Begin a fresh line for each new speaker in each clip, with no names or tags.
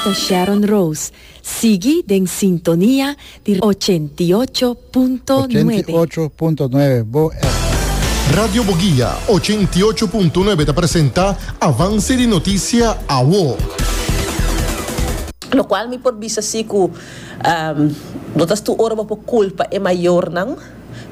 ta Sharon Rose. Sigui den sintonia di 88.9.
88.9 Bo FM.
Radio Boguia 88.9 ta presenta Avance di Noticia Awo.
Locual mi por bisa si cu no ta tur ora bo por culpa e mayornan.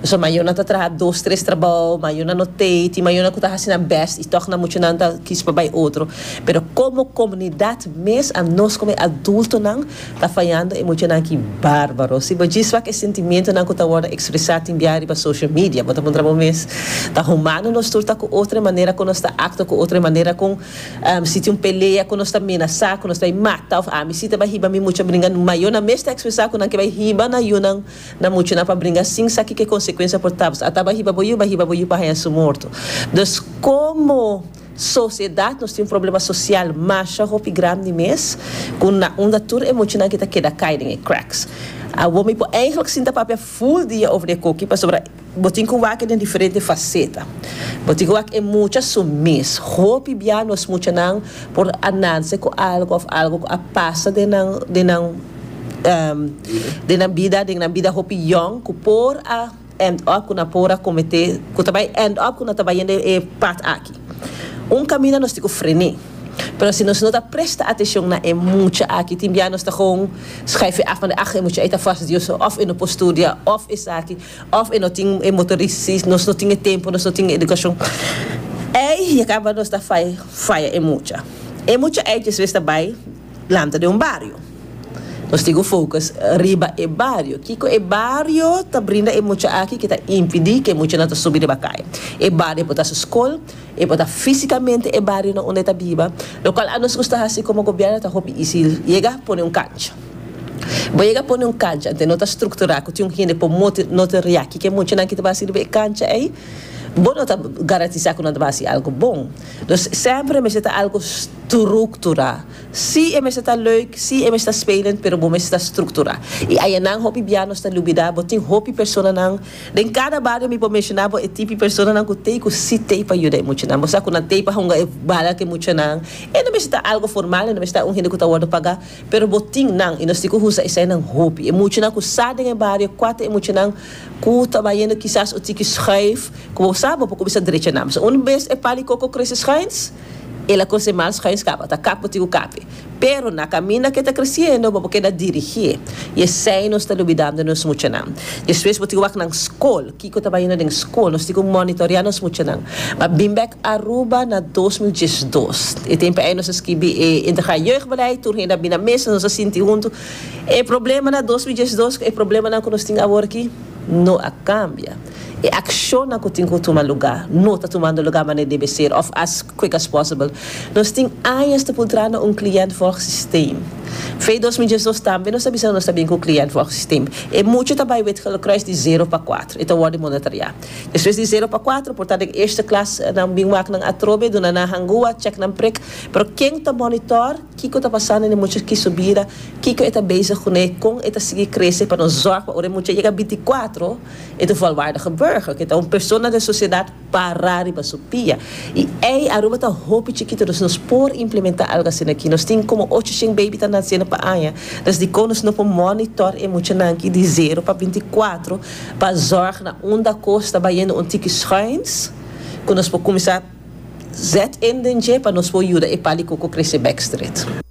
Pasobra mayornan ta traha dos, tres trabou, mayornan no tei, tin mayornan ku ta hasi nan bèst i tòg nan muchanan ta kis pa bai otro. Pero komo komunidat mes, anos komo e adultonan ta fayando e muchanan aki bárbaro. Si bo djis wak e sentimientonan ku ta wòrdu ekspresá tin bia riba social media, bo ta puntra bo mes, ta humano nos tur ta ku otro e manera ku nos ta aktua ku otro, e manera kon si tin un pelea ku nos ta menasá ku nos ta bai mata òf ami si ta bai hiba mi mucha bringa. Mayornan mes ta ekspresá ku nan ke bai hiba nan yunan. Na muchanan pa bringa sin sa kiko e konsekuensia por ta. Ata bai hiba bo yu, bai hiba bo yu pa haña su morto. Dus komo sosiedat nos tin un problema sosial masha hopi grandi mes ku na unda tur e muchanan ki ta keda kai den e cracks. Awor mi por eigenlijk sinta papia full dia over di e koki pasobra bo tin ku wak den diferente faseta. Bo tin ku wak e mucha su mes. Hopi bia nos muchanan por a nanse ku algu of algu ku a pasa den nan den nan den nan bida, den nan bida hopi yong ku por a end up ku nan por a kometé, ku ta bai end up ku nan ta bai yendo e pad aki. Un kaminda nos tin ku frené. Pero si nos no ta presta atenshon na e mucha aki, tin bia nos ta gewoon schuif e af manda ach e mucha ei ta fastidioso òf e no por studia òf esaki òf e no tin e motorisis, nos no tin e tempu, nos no tin e edukashon. Ei ya kaba nos ta faya e mucha. E mucha ei despues ta bai lanta den un bario. Nos tin ku focus riba e bario. Kiko e bario ta brinda e mucha aki ke ta impidi ke e muchanan ta subi riba kaya? E bario por ta su skol, e por ta fisikamente e bario na unda e ta biba. Lokual anos gusta hasi komo gobièrnu ta hopi isi yega pone un kancha. Bo yega pone un kancha ante no ta strukturá ku tin un hende por motoreá kiko e muchanan ki ta bai hasi riba e kancha ei, bo no ta garantisá ku nan ta bai hasi algu bon. Dus semper e mester ta algu strukturá. Sí e mester ta leuk, sí e mester ta spelend, pero bo mester ta strukturá. I ayanan hopi bia nos ta lubidá, bo tin hopi personanan, den kada bario mi por menshoná bo e tipi personanan ku tei ku sí tei pa yuda e muchanan. Bo sa ku nan tei pa hunga e bala ku e muchanan. E no mester ta algo formal, e no mester ta un hende ku ta wòrdu pagá, pero bo tin nan i nos tin ku usa eseinan hopi. E muchanan ku sa den e bario, kua ta e muchanan ku ta bayendo kisas un tiki schuif, ku bo sa bo por kuminsá drecha nan. Pasobra un bes e pal di koko krese schuins, El a kose mal schuins kaba, ta kap bo tin ku kape. Pero na kaminda ku e ta kresiendo, bo por keda dirigié. I esei nos ta lubidando nos muchanan. Despues bo tin ku wak nan skol, kiko ta bayendo den skol. Nos tin ku monitoreá nos muchanan. M'a bin bèk Aruba na 2012. E tempu ei nos a skibi e Integraal Jeugdbeleid, tur hende a bin na mesa, nos a sinti huntu. E problema na 2012 ku e problemanan ku nos tin awor aki no a kambia. E akshonnan ku tin ku tuma lugá no ta tumando lugá manera debe ser òf as quick as possible. Nos tin añas ta puntra na un cliëntvolgsysteem. Fe 2012 tambe nos ta bisa nos ta bin ku cliëntvolgsysteem. E mucha ta bai Wit Gele Kruis di zero pa kuatro, e ta wòrdu monitoreá. Despues di zero pa kuatro por ta den eerste klas nan bin wak nan atrobe, duna nan hangua, chèk nan prik. Pero ken ta monitor kiko ta pasando den e mucha ki su bida, kiko e ta bezig kuné, kon e ta sigui krese pa nos zòrg pa ora e mucha yega bintikuatro, E ta un volwaardige burger, ke ta un persona den sosiedat pará riba su pia. I ei Aruba ta hopi chikito, dus nos por implementá algu asina aki. Nos tin komo ocho shen baby ta nasiendo pa aña, dus dikon nos no por monitor e muchanan aki di zero pa 24 pa zòrg na unda kos ta bayendo un tiki schuins ku nos por kuminsá zet in den dje pa nos por yuda e pal di koko krese bèk stret.